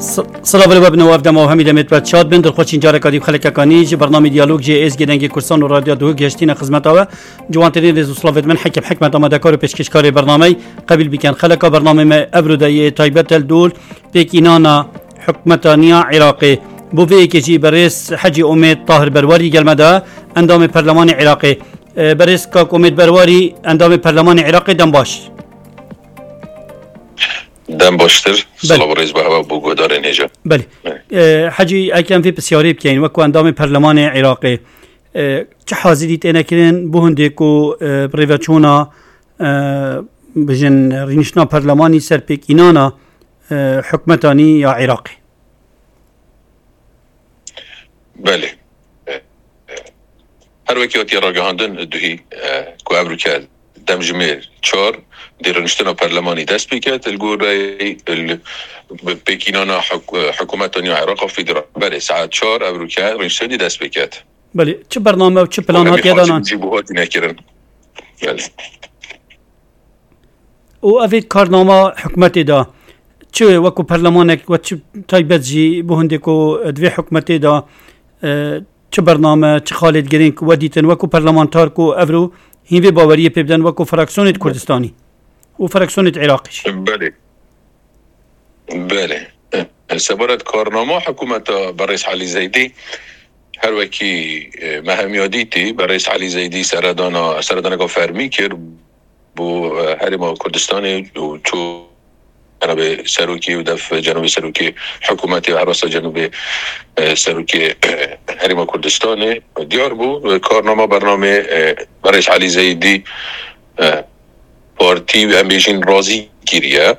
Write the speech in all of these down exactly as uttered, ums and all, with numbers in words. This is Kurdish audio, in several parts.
Silav li we bin û ev dema û hemî demê bi çat bin. Dilxweşîn careka dî bi xelekeka nî ji bernamê Diyalog ji Êzgê Dengê Kurdistan û Radyo Duhok gihiştîne xizmeta we. Ciwantirîn rêz û silavê min Hekim Hikmet, amadekar û pêşkêşkarê bernameyê, qebîl bikin. Xeleka bernamê me evro de yê taybet e li dûl pêkînana hikûmeta nîya Iraqê. Bo vê yekê jî berêz Hecî Omêd Tahir Berwarî gel me de, endamê Perlemanê Iraqê. E, berêz kak Omêd Berwarî, endamê Perlemanê Iraqê, dem baş. Dem baştir. Belê. Silav û rêz bi hewe bo guhdarên hêja. Belê. Belê. E, Hecî, ekem vê pisyarê bikeyin, wekî endamê Perlemanê Iraqê, e, çi hazirî têne kirin bo hindê ku, e, bi rêveçûna, e, bijin rîniştina perlemanî ser pêkînana, e, hikûmeta nî ya Iraqê? Belê. Her wekî hatiye ragihandin duhî, e, ku evroke demjimêr çar dê rûniştina perlemanî dest pê ket, li goreyê li pêkînana hik-, hikûmeta nîya Iraqa Federal. Belê, saet çar evroke rûniştinê dest pê ket. Belê, çi bername û çi plan hatiye danan? Jî buhatî nekirin. Belê. Û evê karnama hikûmetê de, çi wekî perlemanek we, çi taybet jî bo hindê ku di vê hikûmetê de, e, çi bername, çi xalêt girîng we dîtin wekî perlemantar ku evro hîn vê baweriyê pê bidin wekî fraksiyonê di Kurdistanî û fraksiyonê di Iraqê jî? Belê. Belê. Sebaret karnama hikûmeta berêz Elî Zeydî, her wekî, e, me hemiya dîtî, berêz Elî Zeydî seredana, seredaneka fermî kir. Bo, e, Herêma Kurdistanê û çû cenabê serokê û def cenabê serokê hikûmetê û her wesa cenabê, e, serokê, e, Herêma Kurdistanê. Diyar bû, e, karnama bernamê, e, berêz Elî Zeydî, e, partî em bêjin razî kiriye.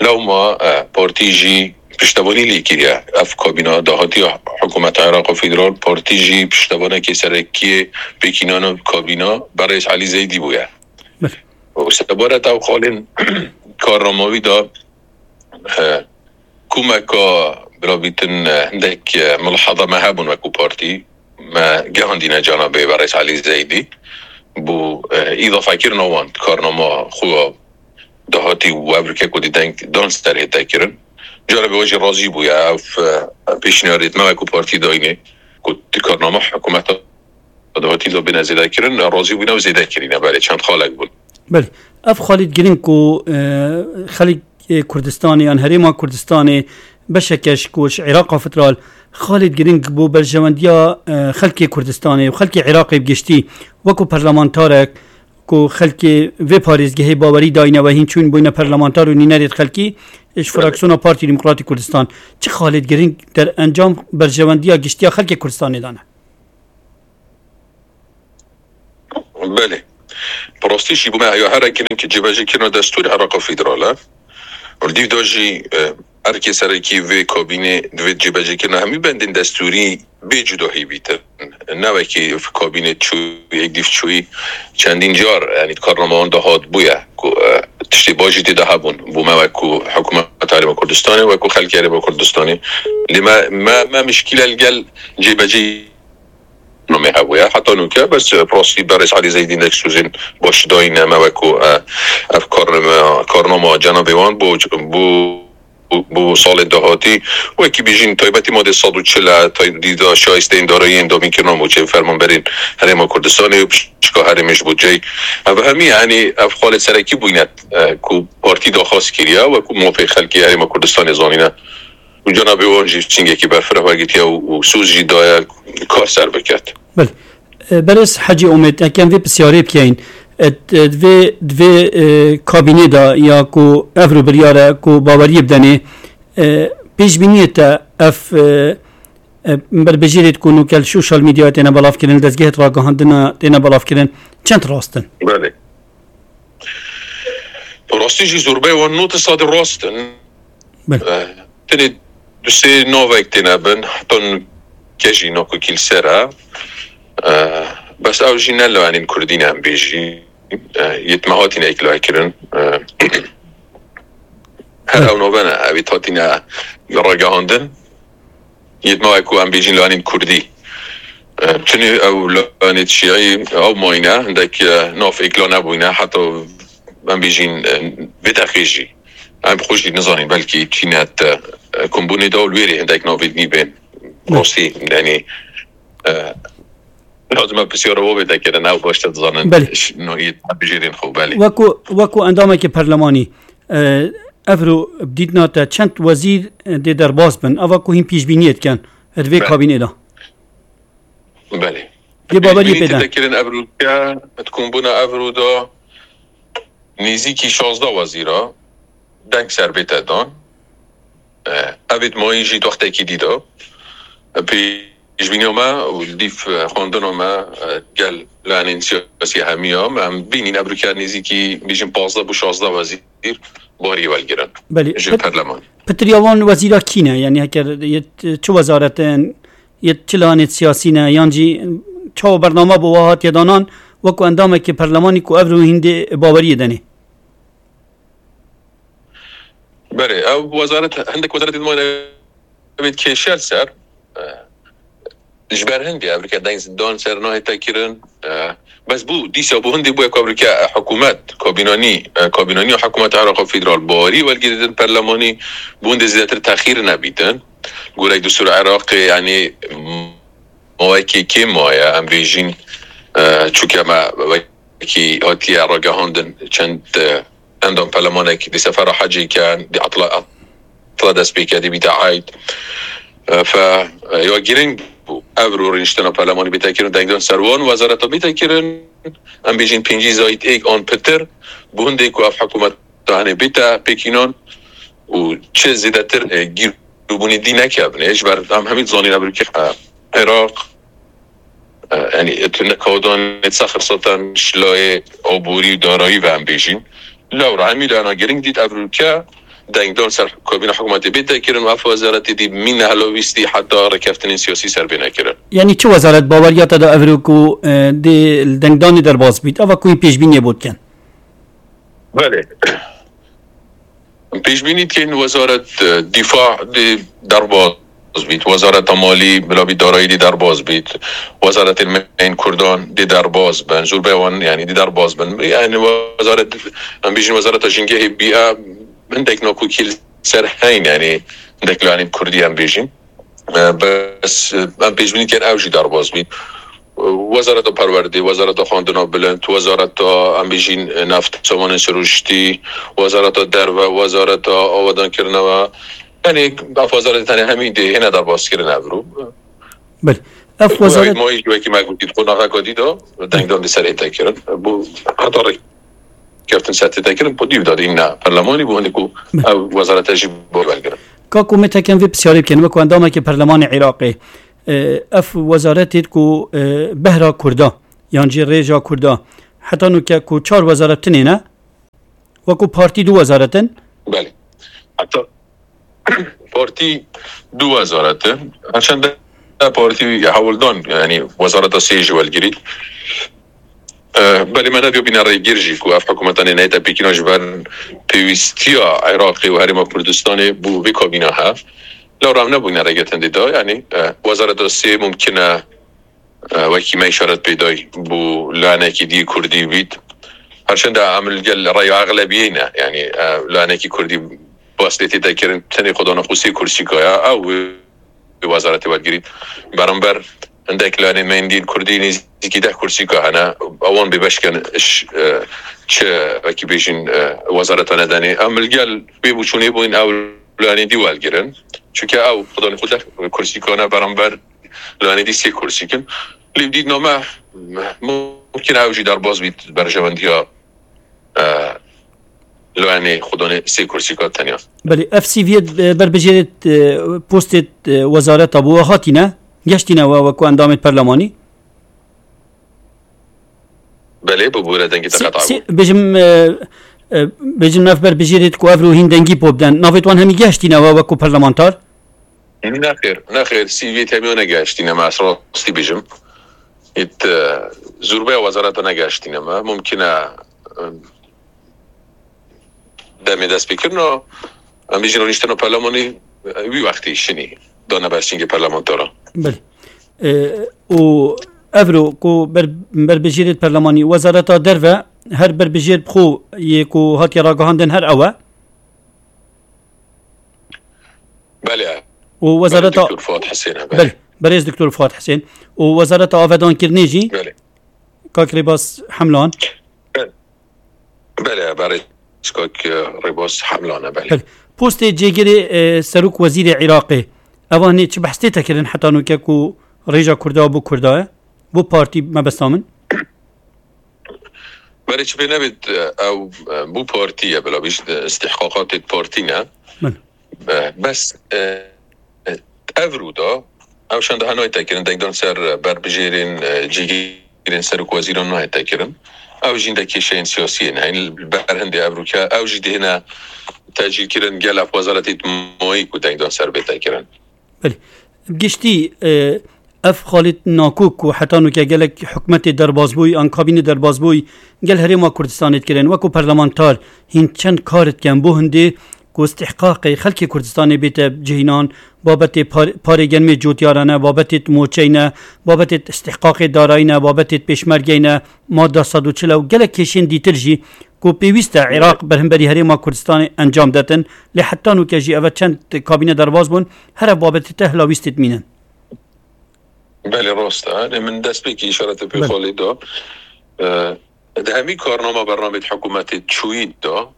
Lewma, e, partî jî piştevanî lê kiriye. Ev kabîna dahatî ya hikûmeta Iraqa Federal, partî jî piştevanekê serekiyê pêkînana kabîna berêz Elî Zeydî bûye. Belê. Û sebaret ew xalên karnamawî de, e, kûmeka birabîtin, e, hindek, e, milahaza me hebûn wekî partî. Me gehandîne cenabê berêz Elî Zeydî bo, e, îdafekirina wan karnama xwe dahatî û evroke ku dî deng dan ser hête kirin. Cenabê we jî razî bûye. Ev, e, pêşniyarê me wekî partî dayînê ku di karnama hikûmeta dahatî de bêne zêde kirin, razî bûne û zêde kirîne. Belê, çend xalek bûn. Belê. Ev xalêt girîng ku, e, xelkê Kurdistanê yan Herêma Kurdistanê beşeke ji ku ji Iraqa Federal xalêt girîng bo berjewendiya, e, xelkê Kurdistanê û xelkê Iraqê bi giştî wekî parlamentarek ku xelkê vê parêzgehê bawerî dayîne we hîn çûn bûyne parlamentar û nînerê xelkî ji fraksiyona Partî Demokratîk Kurdistan. Çi xalêt girîng derencam berjewendiya giştiya xelkê Kurdistanê dane? Belê. Bi rastî jî bo me ya here kirin ki cêbecîkirina destûrê Iraqa Federal e. Li dîv de jî, e, erkê serekî vê kabînê divê cêbecîkirina hemî bendên destûrî bê cudahî bîtin. Ne wekî kabînê çûyî, yek dîv çûyî çendîn car, yanî di karnama wan de hat bûye ku, e, tiştê baş jî tê de hebûn. Bo me wekî hikûmeta Herêma Kurdistanê, wekî xelkê Herêma Kurdistanê. Lê me, me, me mişkîle li gel cêbecî namê hebûye. Heta nûke bes, e, bi rastî berêz Elî Zeydî hindek sozên baş dayîne me wekî, e, ev karname, karnama cenabê wan bo, bo, bo salên dahatî. Wekî bêjîn taybetî madê sed û çil e, tay-, dîda şayisteyên darayiyên damînkirina mûçeyên fermanberên Herêma Kurdistanê û pişka herêmê ji bo cey. Ev hemî, yanî ev xalê serekî bûyne, e, ku partî daxwaz kiriye, wekî mafê xelkê Herêma Kurdistanê zanîne. Û cenabê wan jî çingekî berfireh vegirtiye û, û soz jî daye kar ser biket. Belê. E, berêz Hecî Omêd, ekem vê pisyarê bikeyin. E, d-, e, divê, divê, e, kabînê de ya ku ev rû biryar e ku baweriyê bidenê, e, pêşbîniyê te ev, e, e, berbijêrê ku nûke li sosyal medyayê têne belavkirin, li dezgehê ragihandina têne belavkirin, çend rast in? Belê. Rastî jî zorbeyê wan nod sedî rast in. Belê. Eh, tenê du sê navek têne bin, heta nûke jî nakokî li ser e. Eh, bes ew jî ne li anîn kurdî ne em bêjî. Eh, yê me hatîne îkla kirin. Eh, her ew nave ne, ew ê hatîne ragihandin. Yê me wek ku em bêjîn li anîn kurdî. Eh, çinê ew li anê şîî ew mayîne, hindek, eh, nav êkla nebûyne, heta em bêjîn, eh, vê deqê jî. Em xwe jî nizanîn, belkî çîne te, eh, kombûnê de û li wê rê hindek navînî bên. Rastî, yanî, e, lazim e pisyara we bête kirin, ew baş te dizanin. Belê. Ş-, no, yê tebijêrên xwe, belê. Wekû, wekû endamekî perlemanî, e, evro bi dîtina te çend wezîr, e, dê derbas bin? Eva ku hîn pêşbîniyê dikin, e, di vê Belê. kabînê de? Belê. Dê baweriyê Pêşbînî pê de. tête kirin evro ke, di kombûna evro de nêzîkî şazdeh wezîra deng ser bête dan. E, ev ê dimayî jî di wextekî dî de. E, pêşbîniya me û li dîf, e, xwendina me, e, gel layanên siyasî hemiya me, em bînîn evroke nêzîkî bêjin pazdeh bo şazdeh wezîr barî welgirin Belê. ji Pit-, perlemanê. Pitiriya wan wezîra kî ne? Yanî heke yê t-, çi wezaretin, yê çi layanê siyasî ne, yan jî çawa bername bo wa hatiye danan, wekû endamekî perlemanî ku evro hîn dê baweriyê denê? Belê, ew wezaret, hindek wezaretê dimayîn ev ê dikêşe li ser, e, ji ber hindê evroke deng dan ser nahête kirin, e, bes bû, dîsa bû hindê bûye ku evroke, e, hikûmet, kabînanî, e, kabînanî û hikûmeta Iraqê Federal barî welgirêdin perlemanî, bû hindê zêdetir texîr nebîtin. Gorek destûra Iraqê, yanî, mawekê kêm maye, em bêjîn, e, çûke me wekî hatiye ragihandin çend, e, endam perlemanek di sefera hecê ke di etla, etla dest pê ke dê bîte eyd. E, fe, e, ya girîng bû. Evro rûniştina perlemanî bête kirin, dengdan ser wan wezareta bête kirin. Em bêjin pêncî zayîd êk an pitir, bû hindê ku ev hikûmeta hene bête pêkînan û çi zêdetir, e, gîr bûnî dî nekevin. Ê, ji ber em hemî dizanîn evroke, e, Iraq, e, yanî, tu nekadan nêtsa xirsatan şilayê aborî û darayî ve em bêjîn. Lewra hemî layana giring dît evroke dengdan ser kabîna hikûmetê bête kirin û ev wezaretê dî mîne helawîstî heta rêkeftinên siyasî ser bê nekirin. Yanî çi wezaret baweriya te da evro ku, e, dê li dengdanê derbas bît? Eva ku hîn pêşbîniyê bo dikin? Belê. Pêşbînî dikin wezaret, e, dîfa dê derbaz bît, wezareta malî, bila bî darayî dê derbaz bît, wezaretên me yên Kurdan dê derbaz bin, zûrbê wan, yanî, dê derbaz bin. Yanî wezaret, em bêjin wezareta jingehê bîye, hindek nakokî li ser heyn, yanî hindek layanên Kurdî em bêjin. E, bes, e, em pêşbînî dikin ew jî derbaz bît. E, Wezareta Perwerdê, Wezareta Xwendina Bilind, Wezareta, em bêjîn, e, Neft, Samanên Sirûştî, Wezareta Derve, Wezareta Awedankirina we. Yanî, ev wezaretê tenê hemî dê hêne derbas kirin evro. Belê. Ev wezaret Mayî jî wekî me gotî, di qonaxeka dî de dengdan di ser hête kirin. Bû heta rê keftin ser tête kirin, po dîv dadî ne perlemanî bû, hindê ku ev wezarete jî bo belgirin. Ka ku me tekem vê pisyarê bikin, wekû endamekî perlemanê Iraqê, e, ev wezaretê ku, e, behra Kurda, yan jî rêja Kurda, heta nûke ku çar wezaret tinê ne, wekû partî du wezaret in. Belê. Heta partî du wezaret in. Her çend partî hewldan, yanî wezareta sê jî welgirî. Eh, belê me nediyo bîne rêgir jî ku ev hikûmetanê neyte pêkîna ji ber pêwîstiya Iraqê û Herêma Kurdistanê bû vê kabîna hev. Lewra em nebûne rêgirtin dê da, yanî, eh, wezareta sê mumkin e, eh, wekî me îşaret pê dayî, bû lanekî dî Kurdî bît. Her çend em li gel reya exlebiyê ne, yanî, eh, lanekî Kurdî bas lê tête kirin, tenê xwedana xwe sê kursîka ye, ew wê wê wezaretê wergirît. Beramber hindek lanên me yên dîn Kurdî nêzîkî deh kursîka hene. Ewan bêbeş kin ş-, e, çi, wekî bêjin, e, wezareta nedenê. Em li gel wê bûçûnê bûn ew lanê dî welgirin. Çunke ew xwedana xwe deh kursîka ne, beramber lanê dî sê kursîk in. Lê dîtina me mumkin e ew jî derbas bît berjewendiya, e, Loyanê xwe danê sê kursîka tenya. Belê, ev C V'yê, e, berbijêrê, e, postê, e, wezareta bû, we hatîne, geştîne we wekû endamê perlemanî? Belê, bû bûre dengê te qet bû. Bêjim, e, e, bêjim ev berbijêrê ku ev rû hîn dengî po biden. Navê wan hemî geştîne we wekû perlemantar? Nexêr, nexêr, C V'yê temiya negeştîne me, ez rastî bêjim. Ît, e, zûrbeya wezareta negeştîne me. Mumkin e, e, demê destpêkirina, em bêjin rûniştina perlemanî, e, wî wextî şinî dane ber sîngê perlemantara. Belê. E, û evro ku ber-, berbijêrê perlemanî, wezareta derve her berbijêr bi xwe yê ku hatiye ragihandin her ew e? Belê. û Wezareta Doktor Fuat Hesên, e, belê. Belê, berêz Doktor Fuat Hesên û Wezareta Avedankirinê jî Belê. Kak Rêbaz Hemlan. Belê. Belê, berêz Kak, e, Rêbaz Hemlan, e, belê. Belê. Postê cêgirê, e, Serok Wezîrê Iraqê, evanê çi behs tê te kirin heta nûke ku rêja Kurda bo Kurda ye? Bo partî mebesta min. Berê çi pê nebêt, e, ew, e, bo partî ye, bila bîst, e, istihqaqatê partî ne. Belê. E, bes, e, e, ev rû da, ew şanda ha nayte kirin, dengdan ser, e, berbijêrên, e, cîgirên serok wezîran nayte kirin. Ew jîn de kêşeyên siyasiyê ne. Li ber hindê ev rûke, ew jî dihêne tecîl kirin gel ev wezaretê dimayî ku dengdan ser bête kirin. Belê. Giştî, e, ev Xalid Nakok ku heta nûke gelek hikûmetê derbazbûyî, an kabînê derbazbûyî gel Herêma Kurdistanê dikirin, wekû parlamenter hîn çend kar dikin bo hindê ku istihqaqê xelkê Kurdistanê bête cihînan, babetê par-, parê genmê cotiyarane, babetê moçeyne, babetê istihqaqê darayîne, babetê pêşmergeyne, madda sed û çil û gelek kêşên dîtir jî ku pêwîst e Iraq berhemberî Herêma Kurdistanê encam detin, lê heta nûke jî eve çend kabîne derbaz bûn, her ev babetê te hilawîstê dimînin. Belê, rast e. Lê min destpêkî îşaretê pê Belê. Xalê da. E, di hemî karnama bernamê di hikûmetê çûyî da,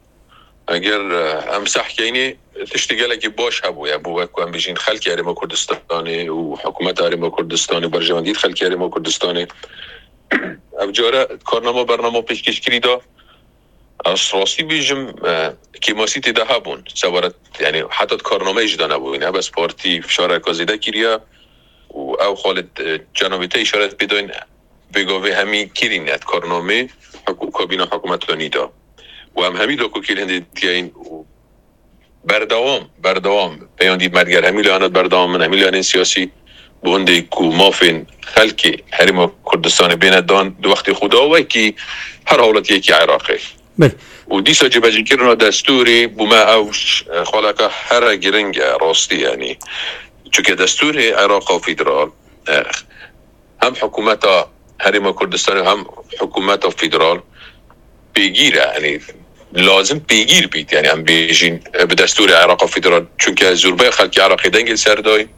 eger, e, em seh keynê, tiştê gelekî baş hebûye, bo wek ku em bêjin xelkê Herêma Kurdistanê û hikûmeta Herêma Kurdistanê û berjewendiyê xelkê Herêma Kurdistanê. Ev care karnama bernama pêşkêşkirî da, ez rastî bêjim, e, kêmasî tê de hebûn. Sebaret, yani heta di karnameyê jî de nebûyne. Bes partî fişareka zêde kiriye û ew xalê, e, cenabê te îşaret pê dayne. Pêgavê hemî kirîne di karnamê hikû-, kabîna hikûmeta nî de. Û em hemî dakokî li hindê dikeyin û berdewam, berdewam peyamên dî merger hemî layanat berdewam in, hemî layanên siyasî, bo hindê ku mafên xelkê Herêma Kurdistanê bêne dan di wextê xwe de wekî her hawletiyekî Iraqê. Belê. Û dîsa cîbecîkirina destûrê bo me ew ş-, xaleka here giring e, rastî, yanî. Çunke destûrê Iraqa Federal, e, hem hikûmeta Herêma Kurdistanê hem hikûmeta federal pêgîr e. Yanî lazim pêgîr bît. Yanî em bêjin, e, bi destûrê Iraqa Federal. Çunke zûrbeya xelkê Iraqê dengê li ser dayî,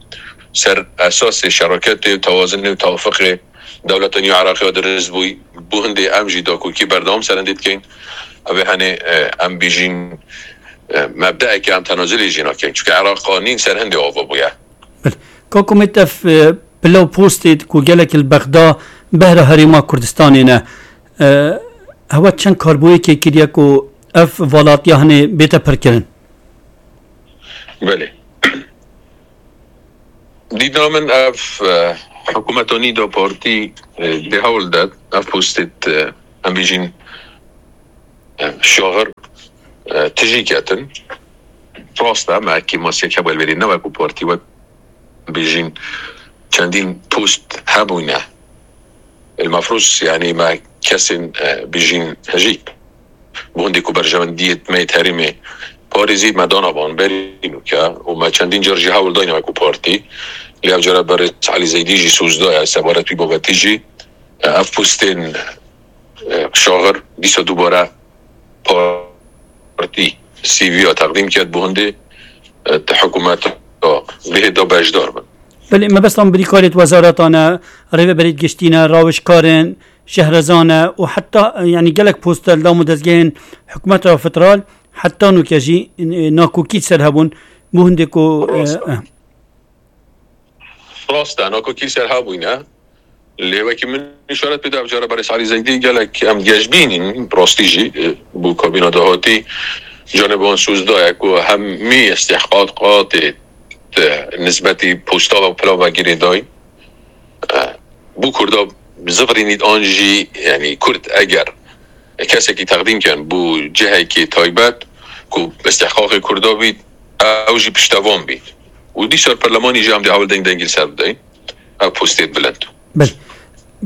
ser esasê şeraketê û tewazinê û tewafiqê dewleta nî Iraqê ya dirist bûyî. Bo hindê em jî dakokî berdewam ser hindê dikeyin. Ev ê henê, e, em bêjin, e, mebdeekê em tenazulê jî nakin. Çunke Iraqa nîn ser hindê ava bûye. Belê. Kak Umêt, ev, e, pile û postê ku gelek li Bexda behra Herêma Kurdistanê ne. E, hewe çend karboyekê kiriye ku ev valatiya hinê bête pirkirin? Belê. Dîdina min ev, e, hikûmeta nî de partî, e, dê hewl de ev postê, e, em bêjin, e, şaxir, e, tijî ketin. Rast e, me kêmasiyek hebû li vêrê ne wek ku partî wek bêjin çendîn post hebûne. El mefrûz, yanî me kesên, e, bêjin hejî. Bo hindê ku berjewendiyê me yê herêmê parêzî me dana van berî nûke û me çendîn car jî hewl dayne wek ku partî. Lê ev cara berê Elî Zeydî jî soz daye sebaret wî babetî jî. E, ev postên, e, şaxir dîsa dubare partî C V ya teqdîm kir bo hindê, e, di hikûmeta bihê de beşdar bin. Belê, mebestan birîkarê di wezareta ne, rêveberê giştî ne, rawişkar in, şehrezan e û heta, e, yanî gelek posta li dam û dezgehên hikûmeta federal heta nûke jî, e, nakokî ser hebûn. Bo hindê ku, e, Rast e. Rast e, nakokî ser hebûyne. Lê wekî min îşaret pê da, ev cara berê Elî Zeydî gelek em geşbîn in, bi rastî jî, e, bo kabîna dahatî canê bi wan soz daye ku hemî istihqaqatê, e, nisbetî posta ve pilav ve girêdayî, e, bo Kurda zivirînît an jî, yanî Kurd eger kesekî teqdîm ken bo cihekî taybet ku istihqaqê Kurda bît, ew jî piştevan bît. Û dîsa li perlemanî jî em dê hewl deng dengî li ser bideyin. Ev postê bilind. Belê.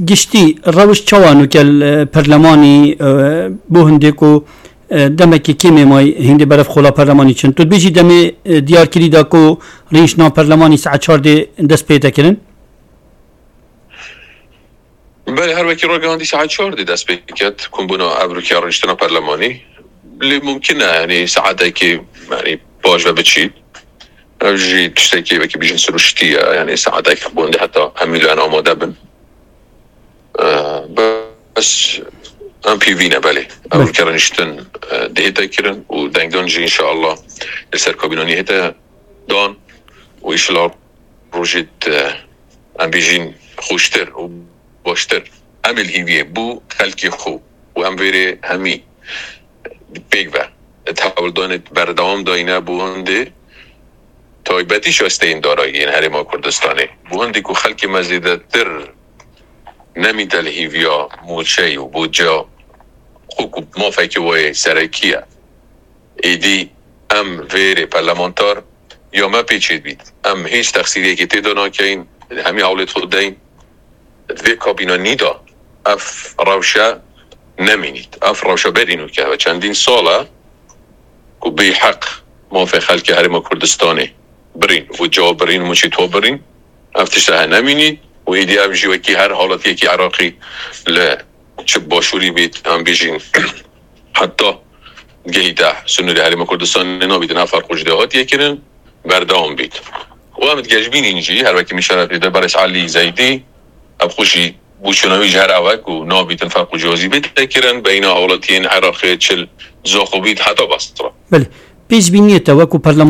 Giştî, rewiş çawa nûke li, e, perlemanî, e, bo hindê ku, e, demekî kêm ê may hindê berev xola perlemanî çin? Tu dibêjî demê, e, diyarkirî da ku rêniştina perlemanî saet çar dê dest pê te kirin? Belê, her wekî ragihandî saet çar dê dest pê ket, kombûna ev rûkê ya rêniştina perlemanî. Lê mumkin e, yanî saetekê, yanî paş ve biçî. Ev jî tiştekî wekî bijîn siruştî ye, yanî saetek bûn de heta hemî lan amade bin. Ee, bes em pîvî ne, belê. Ev Belê. Kere niştin, e, dihête kirin û dengdan jî înşallah li ser kabînanî hête dan û înşallah rojê, e, em bijîn xweştir û baştir. Em ê li hîviyê bû xelkê xwe û em vêrê hemî pêk ve di hewldanê berdewam dayîne bo hindê taybetî şasteyên darayî yên Herêma Kurdistanê. Bo hindê ku xelkê me zêdetir nemîte li hîviya mûçeyî û bo ca xwe ku mafekî wê serekî ye. Êdî em vêrê parlamenter ya me pê çêdibît. Em hîç texsîriyekê tê de nakeyin, hemî hewlê xwe deyin. Di vê kabîna nî de ev rewşe nemînît. Ev rewşe berî nûke ve çendîn sal e ku bêheq mafê xelkê Herêma Kurdistanê birîn, û cewab birîn, û çî to birîn. Ev tişt he nemînît û êdî ev jî wekî her haletiyekî Iraqî li çi başûrî bît, em bijîn heta gehîte sinûrê Herêma Kurdistanê nabîtin, ev ferq û cudê hatiye kirin, berdewam bît. Û em digejbînîn jî, her wekî min şeref dide, Berêz Elî Zeydî, ev xwe jî bûşûna wî ji her ew e ku nabîtin ferq û ciyazî bête kirin, beyna hewletiyên Iraqê çil Zoxo bît heta Basra. Belê. Pêşbîniyê te wekû